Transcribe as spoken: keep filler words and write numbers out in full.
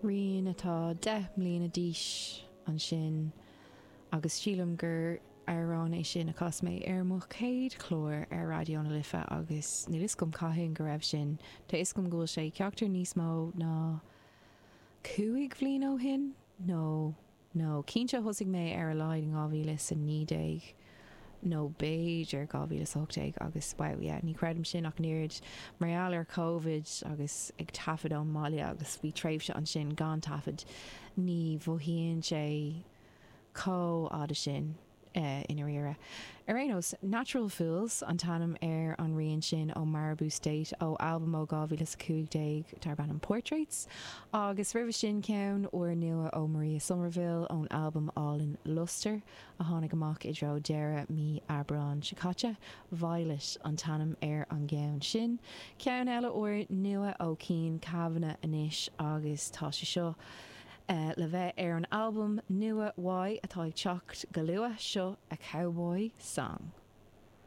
Rian atá deich mbliana d'aois ansin agus sílim gur amhrán é sin a chas mé ar mo chéad chlár ar Raidió na Life agus níl fhios agam cathain go raibh sin. Tá fhios agam go bhfuil sé ceachtar níos mó ná cúig bhliain ó shin nó nó cinnte thosaigh mé ar a laghad in dhá mhíle is a naoi déag nó b'fhéidir dhá mhíle is a hocht déag agus wow yeah ní chreidim sin ach an oiread mar gheall ar Covid agus ag taifead ón mbaile agus bhí tréimhse ansin gan taifead ní mhothaíonn sé chomh fhada sin i ndáiríre. Ar aon nós, Natural Fools an t-ainm ar an rian sin ó Maribou State ó albam ó dhá mhíle is a cúig déag darb ainm Portraits agus roimhe sin ceann úrnua ó Maria Somerville ón albam álainn Luster a tháinig amach i dtreo deireadh mí Aibreáin seo caite. Violet an t-ainm ar an gceann sin. Ceann eile úrnua ó Cian Kavanagh anois agus tá sé seo le bheith ar an albam nua uaidh atá ag teacht go luath seo A Cowboy Song.